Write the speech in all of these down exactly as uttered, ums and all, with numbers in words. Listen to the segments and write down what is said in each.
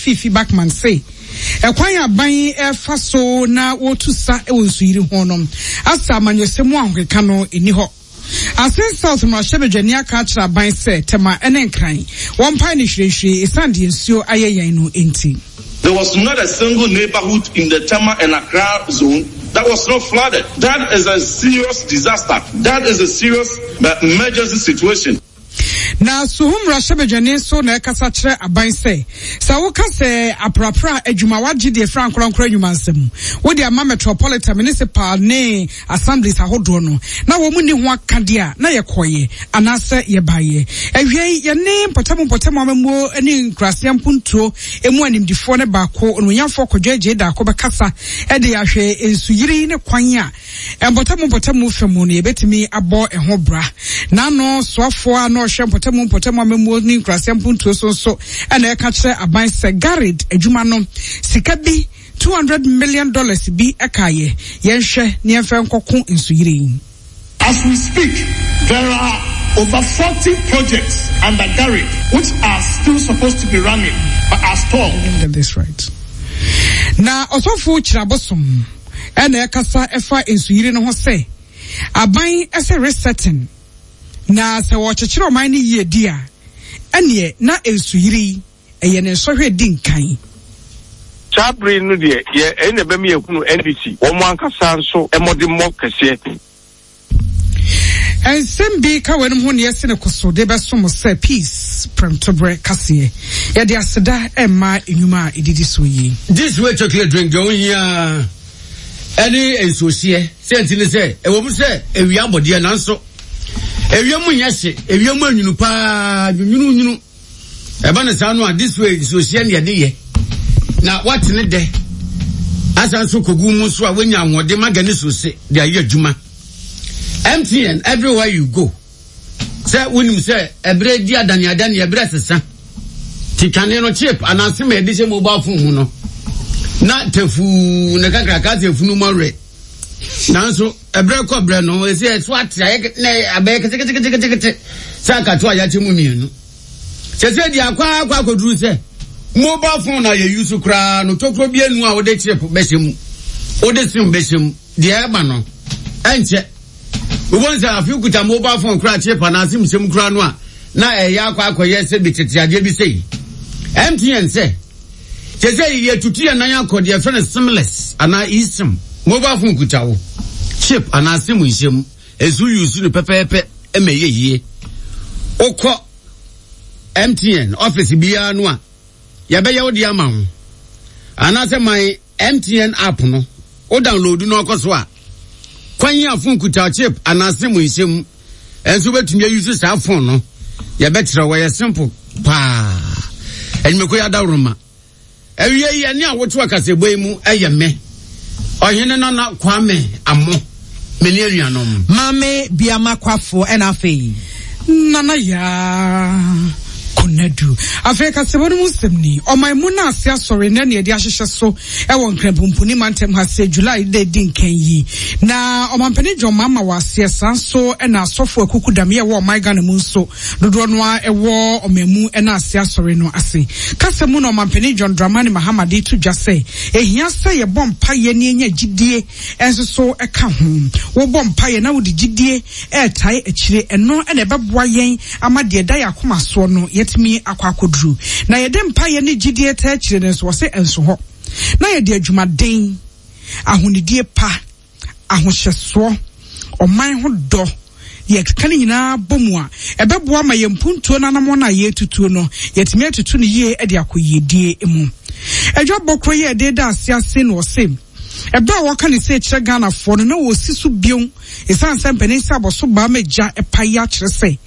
Fiifi Buckman se ɛkwan aban ɛfa so na wɔtu sa wɔ nsuyiri ho no asa amanyɔsɛm mu ahokeka no ɛni hɔ. Assin South mmarahyɛbadwani aka akyerɛ aban sɛ Tema ne Nkran wɔmpae no hwirehwire ɛsiane deɛ nsuo ayɛ yɛn no nti. There was not a single neighborhood in the Tema and Accra zone that was not flooded. That is a serious disaster. That is a serious emergency situation. Na Suhum mmarahyɛbadwani nso na ɛkasa kyerɛ aban sɛ sɛ woka sɛ aprapra adwuma wagye deɛ fira nkorankora nnwuma nsɛm wode ama Metropolitan, Municipal ne assemblies ahodoɔ no na wɔn mu ni ho akadeɛ a na yɛkɔɔyɛ anaasɛ yɛbaeɛ. Awie yi, yɛne mpɔtam mpɔtam amammuo ne nkuraseɛ mpuntuo emu animdifoɔ ne baako, Onimonyamfoɔ Kwadwo Agyei Daako, bɛkasa de ahwɛ nsuyiri ne kwan a mpɔtam mpɔtam fa mu no yɛbɛtumi abɔ ɛho bra. N'ano soafoɔ a na ɔhwɛ mpɔtam mpɔtam amammuo ne nkuraseɛ mpuntuo so nso ɛna ɛka kyerɛ aban sɛ GARID adwuma no sika bi two hundred million dollars bi ɛkaeɛ, yɛnhwɛ ne yɛmfɛ nkɔko nsuyiri yi. As we speak, there are over forty projects under GARID which are still supposed to be running but are stalled. Get this right. Na ɔsɔfo Kyerɛbosom ɛna ɛkasa ɛfa nsuyiri no ho sɛ aban ɛsɛ resetting na sɛ wɔkyekyere ɔman no yie di a, ɛneɛ na nsuyiri ɛyɛ ne nsɔhwɛ di nkan. Saa bere no deɛ yɛ ɛyɛ na ɛbɛma yɛhunu N D C wɔn ankasa nso mmɔdemmɔ kɛseɛ. Nsɛm bi ka wɔn ho ne yɛsi ne koso de bɛsom sɛ Peace Prɛmtoberɛ kaseɛ. Yɛde aseda ɛmma nnwuma a ɛdidi so yi. This Way chocolate drink deɛ ohia ɛne nsuohyeɛ sɛ nti ne sɛ ɛwɔ mu sɛ ewia abɔdeɛ, nanso ewia mu nyɛ hye, ewia mu anwunu paa, nwunu nwunu ɛba ne saa no a, This Way nsuohyeɛ ne yɛde yɛ na wate ne dɛ asan so kogu mu nso a wonya ahoɔden maga ne suose de ayɛ adwuma. M T N, everywhere you go. Sɛ wonim sɛ ɛberɛ di adane adane, ɛberɛ sesa ti kane no, chip anaasɛ ma yɛde hyɛ mobile phone mu no na tafuu ne kakraka sɛ efunu mu awerɛ, nanso ɛberɛ kɔ berɛ no ɛsɛ ɛso ate ayɛ na abɛyɛ ketekete sɛ akato a yɛakyɛ mu mmienu. Sɛ sɛ deɛ akɔ akɔ akɔduru sɛ mobile phone a yɛyi so koraa no, tokuro bi anu a wode chip bɛhyɛ mu, wode SIM bɛhyɛ mu deɛ ɛba no ɛnkyɛ wobɛhu sɛ afe kuta mobile phone koraa, chip anaa SIM hyɛ mu koraa no a, na ɛyɛ akɔ akɔyɛ sɛ bi tete adeɛ bi sɛyi. M T N sɛ kyɛ sɛ yɛtutu yɛn nan akɔ deɛ yɛfrɛ no SIMless anaa eSIM. Mobile phone kuta wo chip anaa SIM nhyɛ mu, ɛnso use no pɛpɛɛpɛ ɛma ɛyɛ yie. Wokɔ M T N office biara no a, yɛbɛyɛ wo de ama wo, anaasɛ my M T N app no, wo download no ɔkɔ so a, kwan yi a phone kuta chip anaa SIM nhyɛ mu ɛnso wobɛtumi ayi so saa phone no, yɛbɛkyerɛ wɔ yɛ simple paa. Adwumako yɛ adaworoma. Awie yi, ɛne a woto akasɛbɔ yi mu ɛyɛ me Ɔhene Nana Kwame Amo, me ne anuanom. Maame Biama Kwafo, ɛna afei Nana Yaa Konadu. Afei kasɛbɔ no mu nsɛm ni. Ɔman mu no ase asɔre na nea yɛde ahyehyɛ so ɛwɔ Nkranpumpuni mantam ha sɛ July da di nkan yi na Ɔmampanin John Mahama wɔ aseɛ. Saa nso ɛna asɔfo akuku dam yɛ wɔ ɔman Ghana mu nso dodoɔ no a ɛwɔ ɔman mu ɛna ase asɔre no ase kasa mu na Ɔmampanin John Dramani Mahama de to dwa sɛ ehia sɛ yɛbɔ mpayɛ ne enya gyidie ɛnso so ɛka ho. Wɔbɔ mpayɛ na wɔde gyidie ɛɛtae akyire, ɛno ɛna ɛbɛboa yɛn ama deɛ ɛda yɛ akoma soɔ no yɛtumi akɔ akɔduru. Na yɛde mpayɛ ne gyidie taa akyire no nso, wɔsɛ ɛnso hɔ na yɛde adwumaden, ahonidie pa, ahohyɛsoɔ, ɔman ho dɔ, yɛka no nyinaa bɔ mu a, ɛbɛboa ma yɛn mpuntuo no anamɔ no a yɛretutuo no yɛtumi atutu no yie de akɔ yiedie mu. Adwa bɔkorɔ yi a yɛde da ase ase no, ɔse ɛberɛ a wɔka ne sɛ kyerɛ Ghanafoɔ no na wɔsi so bio ɛsiane sɛ mpanin sɛ abɔso baa ma gya ɛpa yi akyerɛ sɛ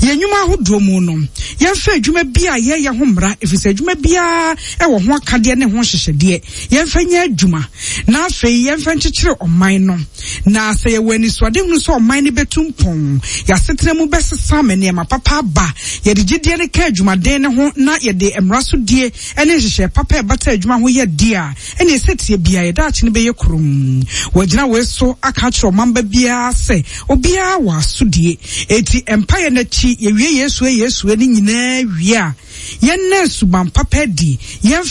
yɛn nnwuma ahodoɔ mu no, yɛmfa adwuma bi a yɛyɛ ho mmara, ɛfiri sɛ adwuma biara ɛwɔ ho akadeɛ ne ho nhyehyɛdeɛ. Yɛmfa nyɛ adwuma na afei yɛmfa nkyekyere ɔman no, na sɛ yɛwɔ anisoade hunu sɛ ɔman no bɛtu mpɔn, yɛasetena mu bɛsesa ma nneɛma papa aba, yɛde gyidie no ka adwumaden no ho na yɛde mmara so die ne nhyehyɛ papa ɛbata adwuma ho yɛ die a, ɛne ɛsɛ tie bia yɛda akye no bɛyɛ kurom. Wɔgyina wei so aka akyerɛ ɔmamba biara sɛ obiara wɔ asodie, eti mpaeɛ n'akyi yɛwie Yesu Yesu no nyinaa wie a, yɛnna suban papa adi, yɛmfa